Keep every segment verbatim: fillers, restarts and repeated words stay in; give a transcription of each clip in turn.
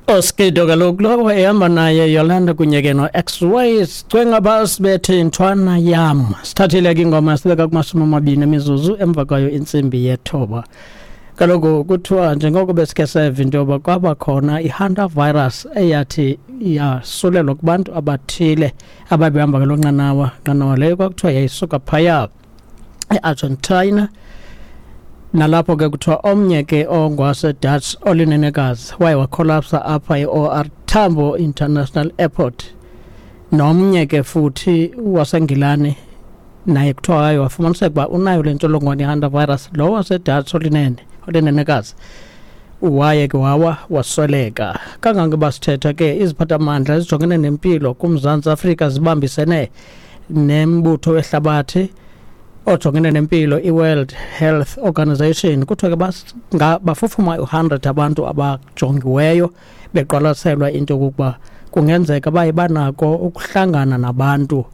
Oskido kaloku lowo ehamba naye Yolanda kunye ke no-X-Way sicwenga basibethe intwana yam. Sithathile ke ingoma sibeka kumashumi amabini emizuzu emva kwayo intsimbi yethoba. Kaloku kuthiwa njengoko besikhe seva into yoba kwaba khona i-hantavirus eyathi yasulelwa kubantu abathile ababehamba ngeloo nqanawa, nqanawa leyo kwakuthiwa yayisuka phaya eArgentina. Nalapho ke kuthiwa omnye ke ongwaseDutch olinenekazi waye wakholapsa apha e-O R Tambo International Airport. Nomnye ke futhi waseNgilani naye kuthiwa waye wafumaniseka uba unayo le ntsholongwane ye-hantavirus. Lo waseDutch olinene olinenekazi waye ke wawa wasweleka. Kangangoba sithetha ke iziphathamandla ezijongene nempilo kuMzantsi Afrika zibambisene nembutho wehlabathi ojongene nempilo i-World Health Organization. Kuthiwa ke bafufuma u-hundred abantu abajongiweyo beqwalaselwa into yokokuba kungenzeka baye banako ukuhlangana nabantu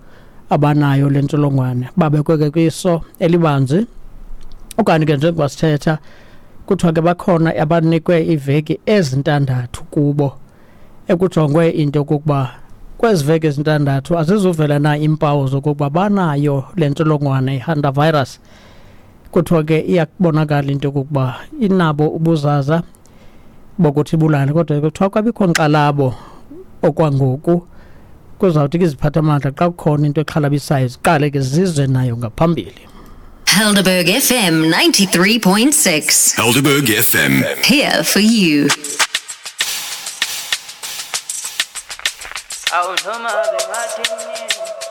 abanayo le ntsholongwane, babekwe ke kwiso elibanzi. Okanye ke njengoba sithetha kuthiwa ke bakhona abanikwe iiveki ezintandathu kubo ekujongwe into yokokuba kwezi veki ezintandathu azizuvela na iimpawu zokokuba banayo le ntsholongwane i-hantavirus. Kuthiwa ke iyakubonakala into yokokuba inabo ubuzaza bokuthi ibulale, kodwa kuthiwa kwabikho nkxalabo okwangoku. Kuzawuthi ke iziphathamandla xa kukhona into exhalabisayo ziqale ke zize nayo ngaphambili. Helderberg F M ninety-three point six. Helderberg F M. Here for you. I was home, I've been watching you.